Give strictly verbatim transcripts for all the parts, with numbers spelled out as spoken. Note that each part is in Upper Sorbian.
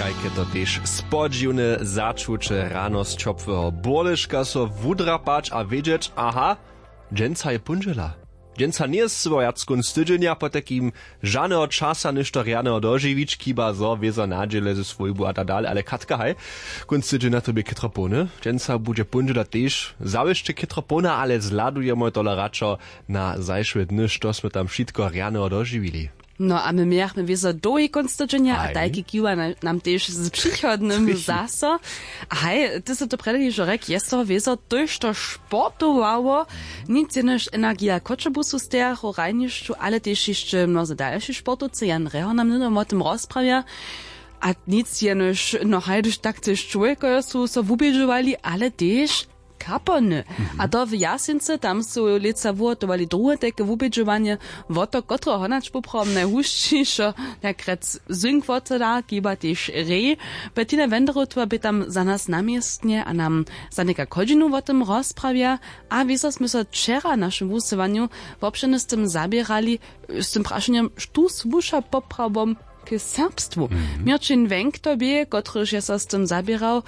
Kajke to tež spodźiwne začuće, rano z ćopłeho burleška so wudrapać a wědźeć, aha, dźensa je póndźela. Dźensa njeje scyło wjac kónc tydźenja, potajkim žaneho časa něšto rjaneho dožiwić, chiba zo wězo nadźěle ze swójbu a tak dale. Ale Katka, haj, kónc tydźenja to bě chětro połny. Dźensa budźe póndźela tež zawěsće chětro połna, ale zhladujemy tola radšo na zašłe dny, što smy tam wšitko rjaneho dožiwili. No a my mějachmy wězo dołhi kónc tydźenja a tajki kiwa na- nam tež z přichodnym zaso. A haj, ty sy to prjedy hižo rjek, je z toho wězo tójšto sportowało. Nic jenož energija Choćebuzu stejachu w hrajnišću, ale tež hišće mnoze dalši sportowcy, Jan Reho nam hnydom wo tym rozprawja. A nic jenož, no haj, hdyž tak tež čłowjekojo su so wubědźowali, ale tež kapony. A to w Jasincy, tam su lětsa wuhotowali druhe tajke wubědźowanje. Wo to, kotreho honać poprawom najhušćišo, nakrjec zynk wotoda, chiba tež rej. Bettina Wenderotowa bě tam za nas na městnje a nam za někak hodźinu wo tym rozprawja. A wězo smy so wčera w našim wusyłanju wobšěrnje z tym zaběrali, z tym prašenjom, štó słuša poprawom k serbstwu. Měrćin Wenk to bě, kotryž je so z tym zaběrał.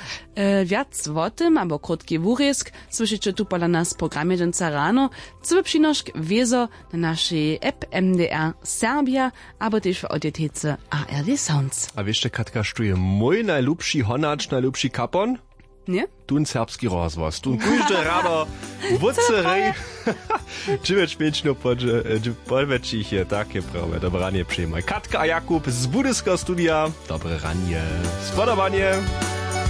Wjac wo tym abo krótki wurězk słyšiće tu pola nas w programje dźensa rano. Cyły přinošk wězo na našej app M D R Serbia abo tež w audiotece A R D Sounds. A wěsće, Katka, štó je mój najlubši honać, najlubši kapon? Ně? Tón serbski rozhłos, tón kóžde rano wótře rej dźewjeć pěć no podwjetšich je, tak je prawje. Dobre ranje přejimaj, Katka a Jakub z budyskeho studija. Dobre ranje, spodobanje.